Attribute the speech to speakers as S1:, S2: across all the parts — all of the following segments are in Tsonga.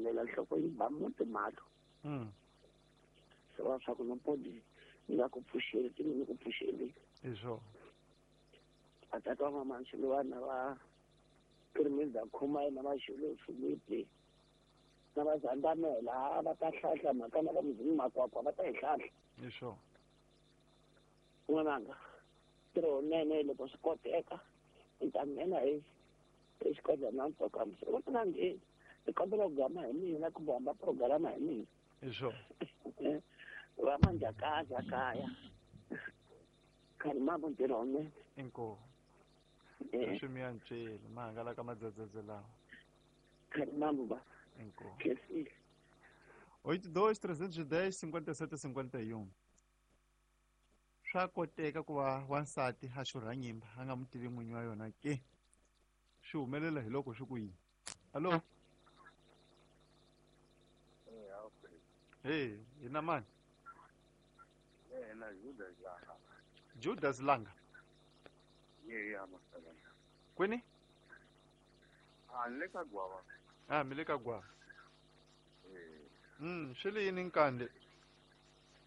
S1: Lela nhloko yi ba muti mahlo. Se va swa ku nompodi ni nga ku pfuxeli ti ni ku pfuxeli.
S2: Hi swona.
S1: Vatata wa mama Xiluva na va Pirimidza Khumai na va Xulu Filipi na va Zandamela va ta hlahla mhaka na va Mzimu Makwakwa va ta yi hlahla.
S2: Hi swona.
S1: N'wananga ntirho wunene loko swi koteka ni ta nghena hi exikodleni na ntoka mse u nga ngheni ni kombela ku gama hi mina kumbe hamba programa hi mina.
S2: Hi swona.
S1: Va manjakaza kaya khani mambo ntirho wunene.
S2: Inkomu. Sweswi mi ya nceli ma hangalaka madzedzedze lawa.
S1: Khani mambo ba.
S2: Inkomu.
S1: Khensile.
S2: 82 310 57 51. Swa koteka ku va wansati a xurha nyimba a nga n'wi tivi n'winyi wa yona ke? Swi humelela hi loko swi ku yini? Hallo? Hey, hi na mani? Judas Langa. Kwini?
S3: Ni le ka Gwava.
S2: Ah, mi le ka Gwava. Swi le yini nkande?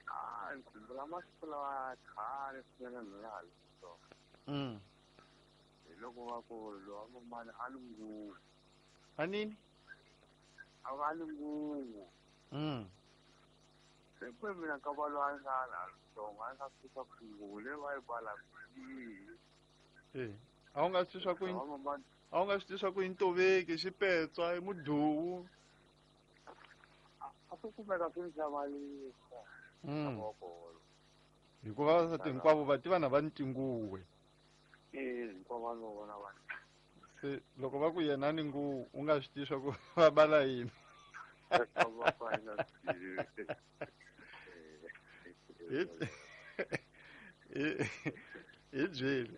S3: Ah, ni khumbula masiku lawa khale swinene ni nga ha ri ntsongo. Hi loko va ku lowa mamani a ni nguvu.
S2: A nini?
S3: A va ni nguvu. Se kwe mina ka va loyi a nga ha ri ntsongo a nga swi swa ku nguvu leyi va yi balaka yihi.
S2: A wu nga swi swa ku a wu nga swi swa ku i ntoveki, xipetswa, i muduwu.
S3: A swi kumeka swi ni hlamarisa.
S2: Hikuva vavasati hinkwavo va tiva na va ni tinguwe.
S3: Hinkwavo va no vona va.
S2: Se loko va ku yena ni nguvu u nga swi tivi swa ku va bala yini. Hi byeli.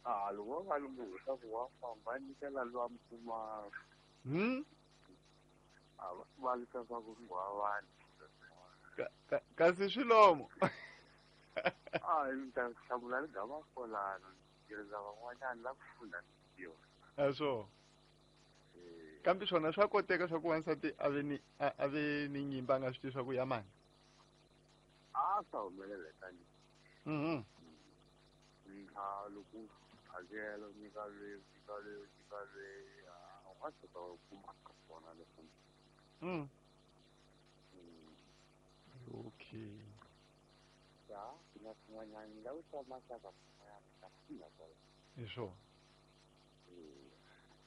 S3: Ah, loko va va ni nguvu swa ku wa famba nyikela lowa mi kuma. A va valisa swa ku nghwavani.
S2: Kasi swilomo.
S3: Ah, ni ta hlamula ni gama kolano. Tirhisa van'wanyana la ku funda ntiyo.
S2: A swo. Kambe swona swa koteka swa ku wansati a ve ni a ve ni nyimba a nga swi tivi swa ku ya mani.
S3: A swa humelela tani. Nka loko hakelo nyika leyi nyika leyi nyika leyi a nga tshuka u kuma ka swona leswi.
S2: Okay.
S3: Ya, na swin'wanyana la ku twa maxaka swin'wanyana ka funda kwala.
S2: Hi swona.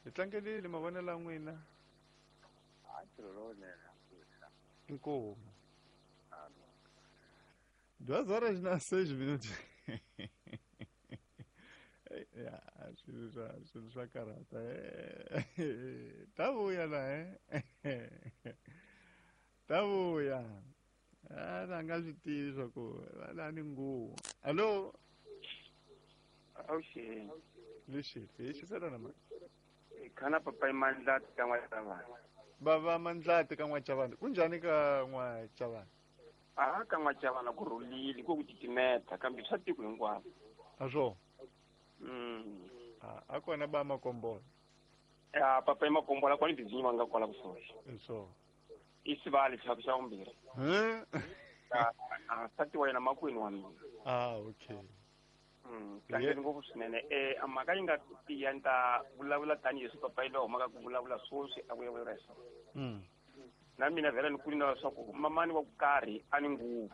S2: Hi tlangelile mavonelo ya n'wina.
S3: A ntirho lowunene.
S2: Inkomu. 2 horas na 6 minutos. Ya, swilo swa karhata. Ta vuya la Ta vuya. A na nga swi tivi swa ku la ni nguvu. Allo?
S4: Awuxeni.
S2: Lexi, hi xisela na mani?
S4: Khana papa i Mandlati ka N'wachavani.
S2: Bava Mandlati ka N'wachavani. Kunjhani ka N'wachavani?
S4: A ka N'wachavani ku rhulile ku titimeta kambe swa tiko hinkwaro.
S2: A swo? A kona ba Makombola.
S4: Ya papa i Makombola kwani bizinyi va nga kwala kusuhi.
S2: Hi swona.
S4: I sivali xa xa vumbirhi. A nsati wa yena makwenu wa mina.
S2: Ah, okay.
S4: Tlangeni ngopfu swinene. A mhaka yi nga tiya ni ta vulavula tanihileswi papa yi loyi humaka ku vulavula sweswi a vulavula hi swona. Na mina vhela ni kuli na leswaku mamani wa ku karhi a ni nguvu.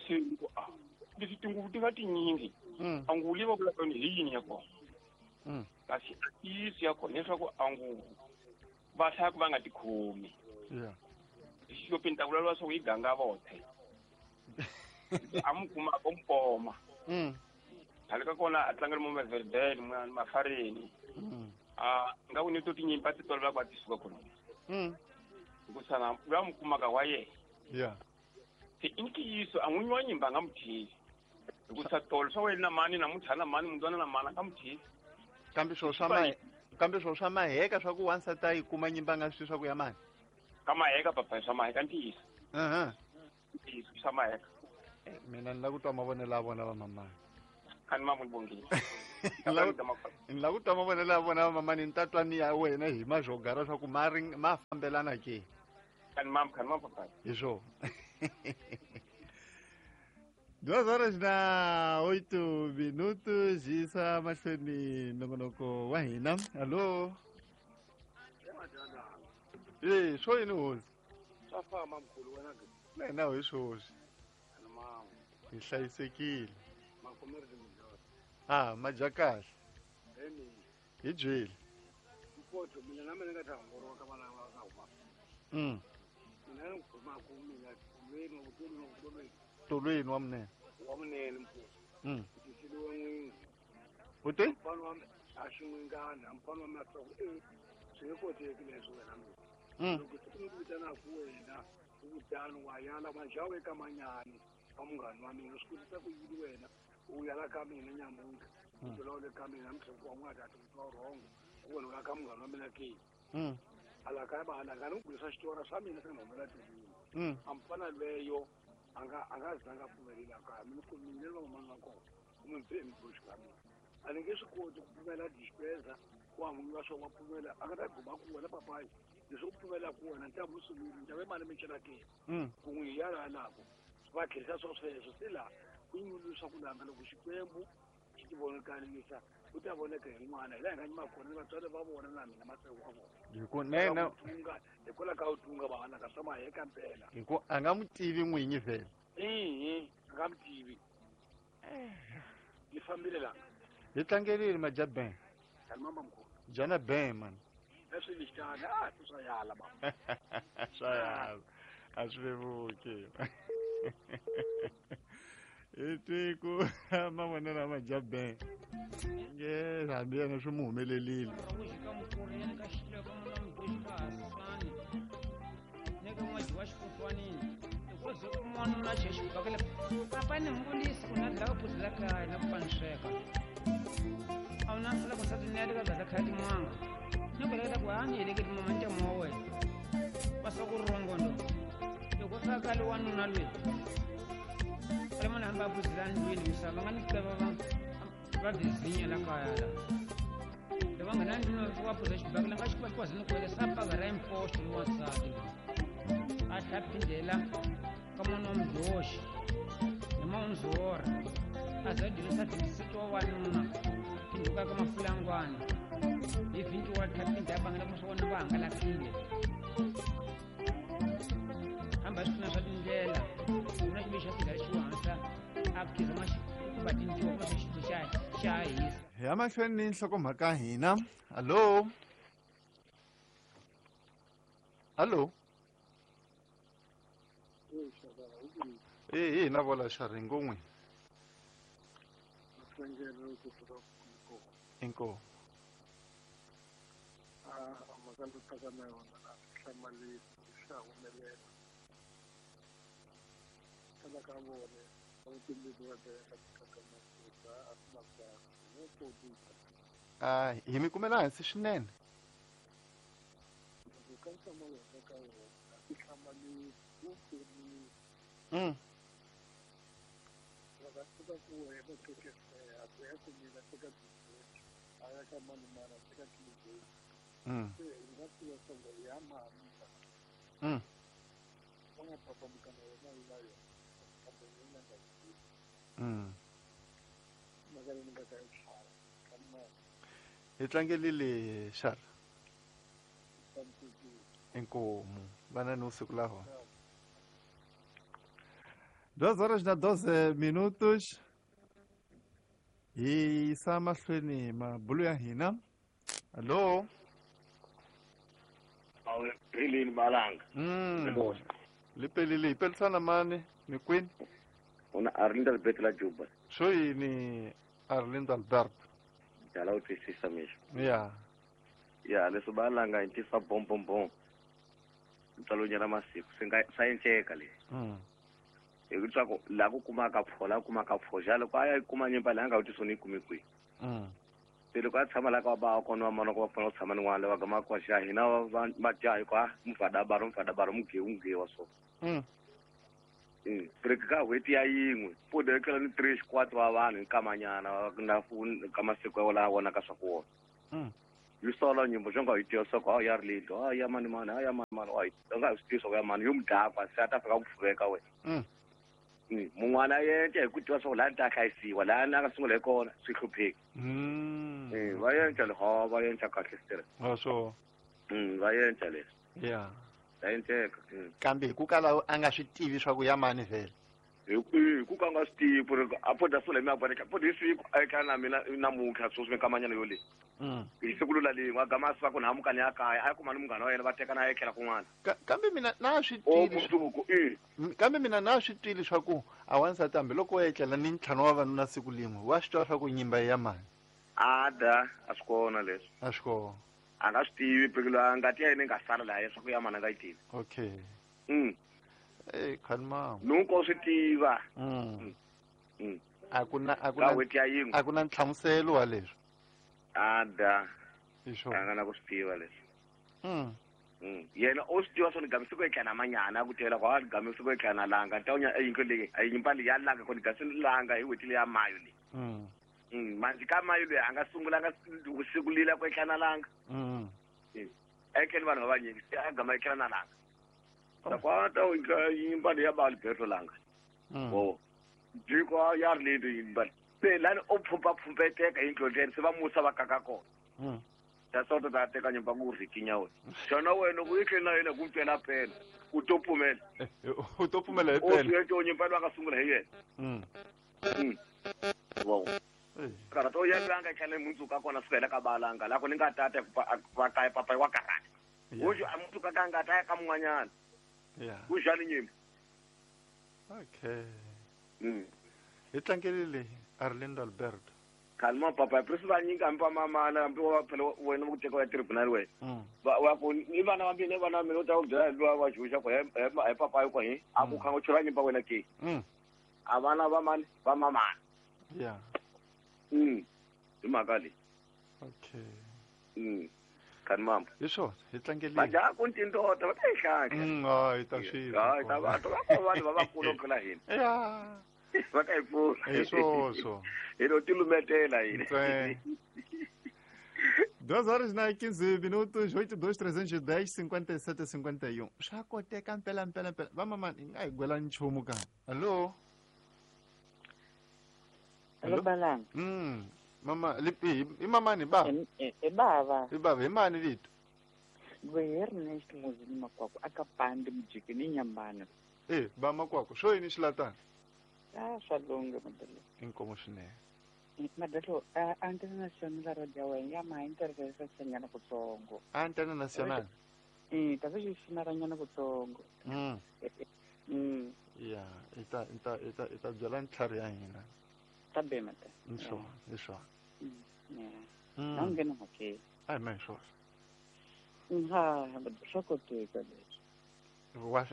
S4: Se ku a leswi tinguvu ti nga tinyingi. A nguvu leyi va vulaka yona hi yini ya kona? Kasi a ntiyiso ya kona leswaku a nguvu va hlaya ku va nga tikhomi. Xixopeni ta vulavula leswaku yi ganga vothe. A mu kuma ko mpoma. Khale ka kona a tlangela mo Maverdale mwana Mafareni. A nga ku ni to tinyimpi a ti tolovela ku va ti suka kona. Hikusa na loyi a mu kumaka wa yena. Se i ntiyiso a n'winyi wa nyimba a nga mu theli. Hikusa tolo swa wena na mani namuntlha na mani mundzwana na mani a nga mu theli.
S2: Kambe swo swa kambe swo swa maheka swa ku wansati a yi kuma nyimba a nga swi swa ku ya mani.
S4: Ka maheka papa swa maheka ntiyiso. Ntiyiso swa maheka.
S2: Mina ni la ku twa mavonelo ya vona va mamani.
S4: A ni mavoni bongile.
S2: Ni lava ku twa mavonelo ya vona mamani ni ta twa ni ya wena hi mazhogara swa ku ma ma fambelana ke.
S4: Kani papa.
S2: Hi swona. 2h08 yisa mahlweni nongonoko wa hina. Hallo. Eh, swo yini hosi?
S5: Swa famba mkhulu wena ke.
S2: Na hina hi swoswi. Hi hlayisekile. Ah, madya kahle. Hi byeli.
S5: Mpoto mina na mina nga ta hongoroka ka vana va ka huma. Mina ni kuma ku mina tolweni tolweni.
S2: Tolweni wa munene.
S5: Wa munene mpoto. Tisiliwe n'wingi.
S2: U te?
S5: Mfana wa a xi n'wingana, mfana wa mina swa ku swi nge koteki leswi wena mina. Loko siku ni ku vitanaku wena u kutani wa yala manjawu eka manyani wa munghana wa mina swi kotisa ku yini wena u yala ka mina nyamuntlha u byela u le ka mina namuntlha wa n'wana ta twa rhongo ku wena u ya ka munghana wa mina ke. Ala ka ba ala ka ni bulisa xitori swa mina swi nga humela tilwini. A mfana leyo a nga zanga pfumelela kaya mina ku mina va mamani wa kona u mi bye mboxi ka mina. A ni nge swi koti ku pfumela dispensa wa munhu wa swo wa pfumela a nga ta guma ku wena papayi leswi u pfumela ku wena nta musulumi nta ve mali mi cela ke. Ku n'wi yala lako va kherisa swo sweswo se laha ku nyulusa ku langa loko Xikwembu xi ti vonakalisa u ta voneka hi n'wana hi laha hi nga nyima kona ni vatswari va vona na mina matsevu wa vona.
S2: Hi ku nene
S5: hikwalaho ka u tunga va hanaka swa maheka mpela.
S2: Hi ku a nga n'wi tivi n'winyi vhele.
S5: Ihi a nga n'wi tivi. Ni fambile la.
S2: Hi tlangelile madya ben.
S5: Kani mama mkhulu.
S2: Jana ben man.
S5: Leswi ni xitana a swa yala mama.
S2: Swa yala. A swi vevuki. Hi tiko mavonelo ya madya ben. Nge hambi yena swi mu humelelile.
S6: Papa ni mbulisi ku na dlaka phuzi la kaya na ku panisweka. A wu na sala ku nsati ni ya leka dlaka khaya tin'wanga. Ni ku leketa ku a ni heleketi mama ni temo wa wena. Va swa ku rongondo. Loko swa kale wanuna loyi. Ale munhu hambi a phuzela ndlwini misava va nga ni tiva va vizinya la kaya la. Loko va nghena ndlwini va phuza xibakela nga xi kwazini ku wele sa paka ra impoxo loyi wansati loyi. A tlhela phindela ka n'wana wa mudyoxi hi maunzora a za dyondzisa 26 wa wanuna phinduka ka mafulangwana hi 20 wa tlhela phinda a bangela ku swa va hangalakile hamba swi pfuna swa tindlela na xiviri xa sigara xi hansa a khiza ma va tintiwa kuma swa xilo xa hisa.
S2: Hi ya mahlweni ni nhlokomhaka ya hina. Hallo. Hallo. Eh na vola xaringo n'wi. Inko.
S5: A mhaka ndzi tsaka na yona na hlamaleli xa humelela. Tala ka vona
S2: A hi mi kumela hansi swinene. Hi tlangelile xara. Inkomu vana ni usiku laho. 2h12 hi yisa mahlweni mabulu ya hina. Hallo.
S1: Rilini balanga.
S2: Lipelile ipelisana mani mikwini.
S1: Una Arlindo Alberto la Juba.
S2: Swo yini Arlindo Alberto?
S1: Jala u twisisa mixo.
S2: Ya.
S1: Ya leswi balanga hi tisa bom bom bom. Ntswalo masiku swi nga swa endleka leswi. Hi ku swa ku laha ku kumaka pho laha ku kumaka pho xa loko a ya kuma nyimba leyi a nga vutisi ni yi kumi kwihi. Se loko a tshama laha ka va kona va mana ku va pfuna ku tshama ni n'wana lava gamaka wa xa hina va dyaha hi ku a mufadabaro mugewu mugewa so.
S3: Break ka n'hweti ya yin'we pfuda etlela ni 3 4 wa vanhu hi nkamanyana na ka masiku ya laha vonaka swa ku wona. Yi sola nyimbo xo nga yi tiva swa ku a ya ri leti a ya mani mani a ya mani mani a nga swi tivi swa ku ya mani yo mudakwa se a ta fika ku pfuveka wena. Mun'wana a endla hi ku tiva swa ku laha ni ta hlayisiwa laha ni a nga sungula hi kona swi hlupheki. Va endla leswi va endla kahle swi
S2: swo
S3: va endla leswi
S2: ya
S3: va endleka.
S2: Kambe hi ku kala a nga swi tivi swa ku ya mani vhele
S3: hi ku ka nga swi tivi ku ri a pfuda sula hi miaboneka pfuda hi siku a etlala na mina namuntlha sweswi minkamanyana yo leyi hi siku lula lin'we a gama a suka ku ni hamukani ya kaya a ya kuma ni munghana wa yena va tekana a etlela kun'wana.
S2: Kambe mina na swi twile
S3: mundzuku
S2: kambe mina na swi twile swa ku a wansati hambiloko wa etlela ni ntlhanu wa vanuna siku lin'we wa swi twa swa ku nyimba ya mani.
S3: Ada a swi kona leswi
S2: a swi kona
S3: a nga swi tivi phela ngati ya yena yi nga sala laha swa ku ya mani a nga yi tivi.
S2: Okay. Khalma
S3: nunko swi tiva.
S2: A ku na a ku na nhlamuselo wa leswi.
S3: Ada
S2: a
S3: nga na ku swi tiva leswi. Yena o swi tiva swo ni gami siku etlana manyana a ku tela ku a gami siku etlana langa ta unya yinhlo leyi a nyimba leyi ya langa ku ni gasi langa hi n'hweti leyi ya mayo leyi. Manji ka mayo leyi a nga sungulanga siku lila ku etlana langa. A etleli vanhu va vanyingi se a gama etlana na langa. Takwata nyimba leyi ya ba Alberto langa. O jiko ya ri leyi nyimba se lani o pfumba-pfumbeteka hi ndlondleni se va musa va kaka kona. Ta sota ta teka nyimba ku rhikinya wena xana wena ku yi tlhela na yena ku mpela pela u to pfumela
S2: u to pfumela hi pela
S3: o nyimba loyi a nga sungula hi yena. Wow. Karata o ya langa tlhela mundzuku a kona suka hela ka balanga la ku ni nga tata va kaya papa wa karata uju a mundzuku ka nga ta ya ka mun'wanyana. Ku xani nyimba.
S2: Okay. Hi tlangelile Arlindo Alberto.
S3: Kalma papa presi va nyika hambi va mamana hambi wa phela wena ku teka ya tribunal wena. Va ku ni vana va mina vana mina u ta ku byela lowa wa xuxa ku hi papa yo ku hi a ku khanga chura nyimba wena ke. A vana va mani va mamana.
S2: Yeah.
S3: Hi mhaka leyi.
S2: Okay.
S3: Kanimambo.
S2: Hi swona hi tlangelile.
S3: Majaha ku tindota va ta yi hlahla.
S2: Hi ta swi.
S3: Hayi ta va va vanhu va vakulu ku tlula hina.
S2: Ya.
S3: Va ta yi pfuna.
S2: Hi swoswo.
S3: Hi lo tilumetela hina.
S2: 2 horas na 15 minutos, 82 310 57 51. Swa koteka mpela mpela mpela. Va mamani hi nga hi gwela nchumu ka. Hallo.
S1: Hello Balanga.
S2: Mama lipi i mamani ba?
S1: I bava.
S2: I bava hi mani vito?
S1: Ernest Muzini Makwakwa aka pandi mujiki ni nyambana.
S2: Ba Makwakwa swo yini xilatana?
S1: Ah swa lunga madalo.
S2: Inkomo swinene.
S1: Madalo a international radio wa ya ma intervention nyana kutsongo.
S2: A international.
S1: Ta swi xinaranyana kutsongo.
S2: Ya, ita ita ita ita byela ntlhari ya hina.
S1: Ta be mata.
S2: Hi swona.
S1: Na nghena mhakeni.
S2: A hi ma hi swona.
S1: Ha, swa koteka leswi.
S2: Wa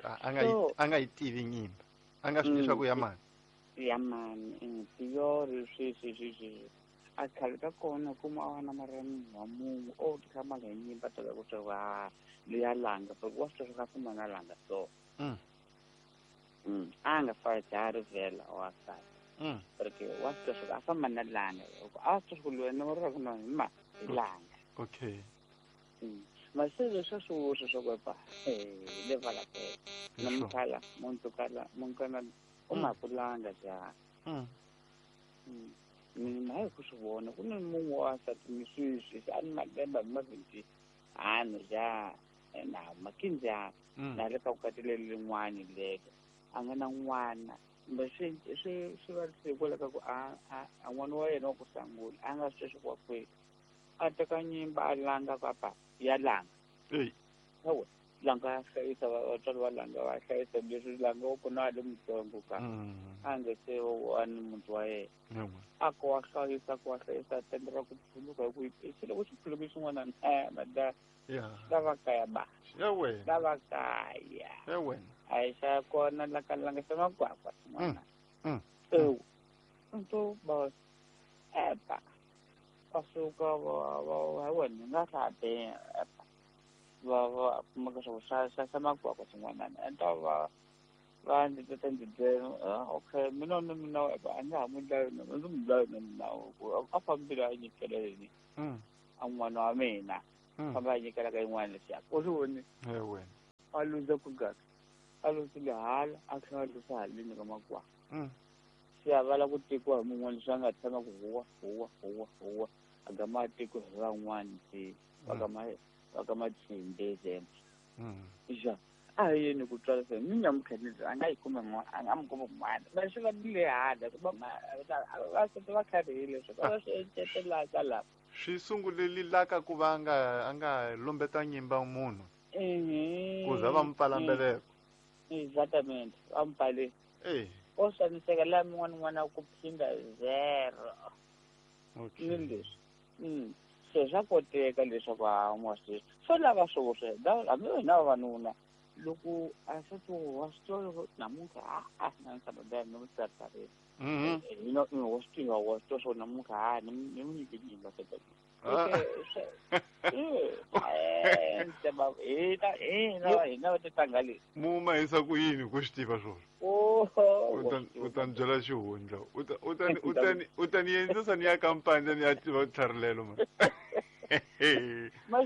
S2: a nga yi tivi nyimba. A nga swi tivi swa ku ya mani.
S1: Ya mani, tiyori swi. A khale ka kona kuma a wana mara munhu wa munhu o tikhamala hi nyimba ta ku swa wa leya langa, wa swi twa swa ku na langa so. A nga fa jari vhela wa sala. Porque wa swi twa swa a famba na langa. A swi twa ku wena u ri ku na ma hi langa.
S2: Okay.
S1: Masele swa swi swa ku pa le vala pe. Namkhala muntu kala munkana u ma kulanga ja. Mina hi ku swi vona ku ni munhu wa nsati ni sweswi a ni malembe ma 20 hanu ja na makinja na le ka vukati leri rin'wani lelo a nga na n'wana kumbe swi va swi kwala ka ku a n'wana wa yena wa ku sungula a nga swi swi wa kwihi a teka nyimba a langa papa ya langa hawa langa ya hlayisa vatswari va langa va hlayisa leswi langa wa kona a le mutsongo ka a nge se wa ni muti wa yena a ku wa hlayisa ku wa hlayisa tende ra ku phuluka hi ku yi loko xi phuluki xin'wana mada lava kaya ba lava kaya a hi xa kona la ka langa xa Makwakwa xin'wana ewu nto ba epa va suka va wena nga hlabe epa va kumeka swa xa Makwakwa xin'wana enta va
S7: Va ndzi ta ndzi byela okay mina na mina a nga ha n'wi dlayi na ndzi n'wi dlayi na mina a fambile a nyikela yini a n'wana wa mina famba a nyikela ka yin'wana leswiya u swi voni a luza ku gaka a luzile hala a tlhela a luza haleni ka makwaa se a va lava ku tekiwa hi mun'wana leswi a nga tshama ku huwa huwa huwa huwa a gama a tekiwa hi van'wana se va ka matshimbe zembe ja a hi yini ku twala se ni nyamutlha a nga yi kuma n'wana a nga mi kuma n'wana va swi va le hala va sete va kharihile swo va swi encetelaka lapa
S2: swi sunguleli laka ku va a nga lombeta nyimba munhu ku za va mi pfala mbeleko
S7: exactamente va mi pfale o xaniseka laha min'wana n'wana ku phinda zero ni leswi se swa koteka leswaku a n'wa swi swo lava swo swi hambi wena vavanuna loko a swi wa swi tiva loko namuntlha a na nsati ni n'wi tsaritsarisa wa swi tiva wa swi tiva swo namuntlha a ni n'wi nyike nyimba hina va titanga leswi
S2: mu mahisa ku yini ku swi tiva swona u ta ni byela xihundla u ta ni endlisa ni ya kampani ni ya tiva tlharilelo ma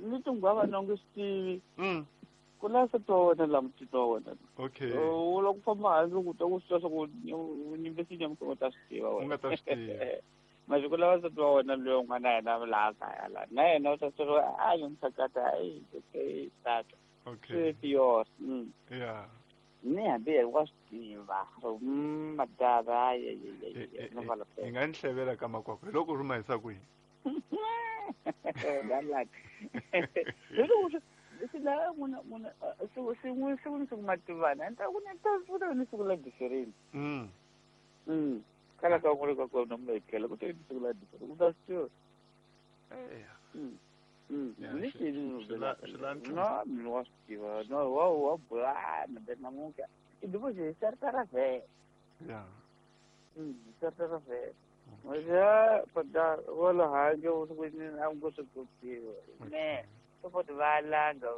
S7: ni tinghwava na nge swi tivi ku na nsati wa wena laha mutiti wa wena
S2: okay
S7: u lava ku famba handle ku twa ku swi tiva swa ku nyimbe sinya u ta swi tiva
S2: u nga ta swi tiva
S7: masiku lawa nsati wa wena loyi un'wana yena laha kaya laha na yena u ta swi tiva a yi mphakata ayi okay tata
S2: okay
S7: swi
S2: yeah
S7: ni hambi yena wa swi tiva madava
S2: hi nga ni hlevela ka makwakwa hi loko ri mahisa kwihi
S7: loko siku ni siku mativana ni ta ku ni ta ku ni siku la difereni kala ka n'wina ka kona mi ekela ku te ni siku la difereni u ta swi tiva ni xini no mina wa swi tiva no wa wa bula mbe namuntlha i divosi hi saritara vhele saritara vhele ja pada wala handle u ku ni a ngo swi kotiwa ne sopoti va langa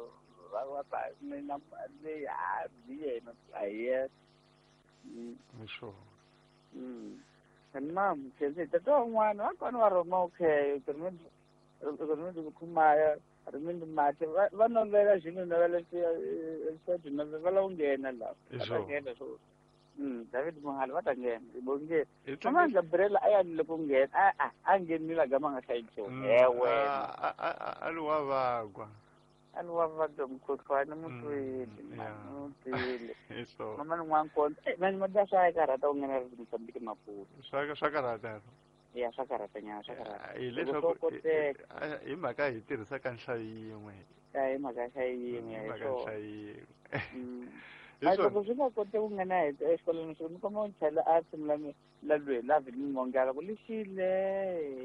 S7: va va mina le a yena a yena
S2: sure
S7: and mam ke tata un'wana va kona va rhoma okay rimindi khumaya rimindi mati va novela xinhu novela swi va lava ku nghena laha va ta nghena swo David Mohale va ta nghena bonge mama Gabriela a ya le ku nghena a nghenile gama nga hlayi nchumu ewe
S2: a li wa vagwa
S7: a li wa vagwa mukhuhlwani mutwile mutwile mama ni n'wankondzo mani mada swa ya karhata ku nghena ri Mozambique Maputo
S2: swa karhata
S7: ya swa karhata nyana swa karhata
S2: hileswaku hi mhaka hi tirhisaka nhlayo yin'we
S7: hi mhaka nhlayo yin'we
S2: hi mhaka nhlayo yin'we
S7: loko swi nga koti ku nghena exikolweni swi ni komba ku chela a tshimula la lweyi la vhini mongala ku lixile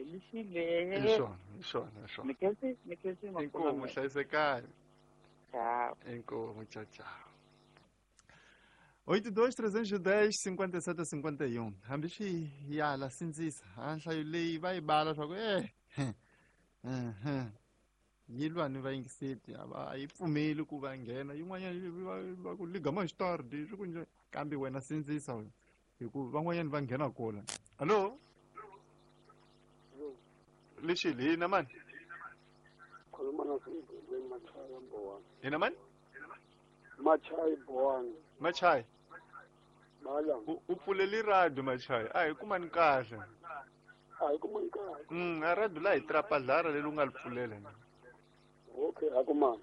S7: lixile
S2: hi swona hi swona hi swona
S7: mikhensi mikhensi
S2: inkomu hlayisekani
S7: ciao
S2: inkomu ciao ciao 82 310 57 51 hambi swi yala sindzisa a nhlayo leyi va yi bala swa ku yi lwa ni vayingiseti a va yi pfumeli ku va nghena yin'wanyana va ku ligama xitardi swi ku njhe kambe wena sindzisa wena hikuva van'wanyana va nghena kona hallo lexi hina mani hina mani
S5: Machai Bowani
S2: Machai u pfuleli radio Machai a hi kumani kahle
S5: a hi kumani kahle
S2: a radio la hi trapadlara leri u nga li pfulela
S5: okay a kumani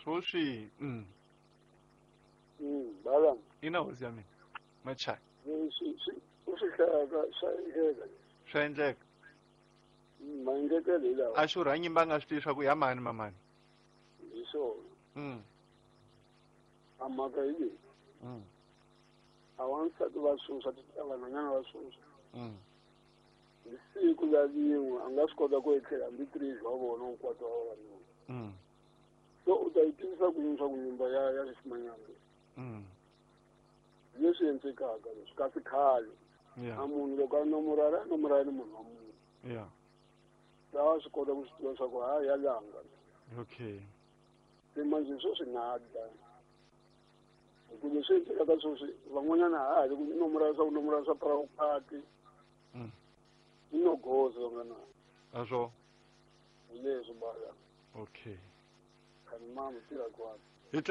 S2: swoswi
S5: bala
S2: ina hosi ya mina Machai
S5: u swi hlayaka swa endleka
S2: swa endleka
S5: maendlekelo hi lawa
S2: a xurha nyimba a nga swi tivi swa ku ya mani mamani
S5: hi swona a mhaka hi leyi a wansati va swoswa vanhwanyana va swoswa hi siku la rin'we a nga swi kota ku etlela hambi 3 wa vona hinkwato wa vavanuna so u ta yi tivisa ku yini swa ku nyimba ya xiximanyana leswi endlekaka leswi kasi khale a munhu loko a nomorana a nomorana ni munhu wa munhu lawa swi kota ku swi tiva swa ku ha ya langa
S2: okay
S5: se manje swo swi nga dlaya Hi ku leswi endlekaka sweswi van'wanyana ha ha ri ku nomora swa ku nomora swa property. I no goza vanghana.
S2: A swo
S5: Hi leswi baya.
S2: Okay.
S5: Khani mama tirha kwani.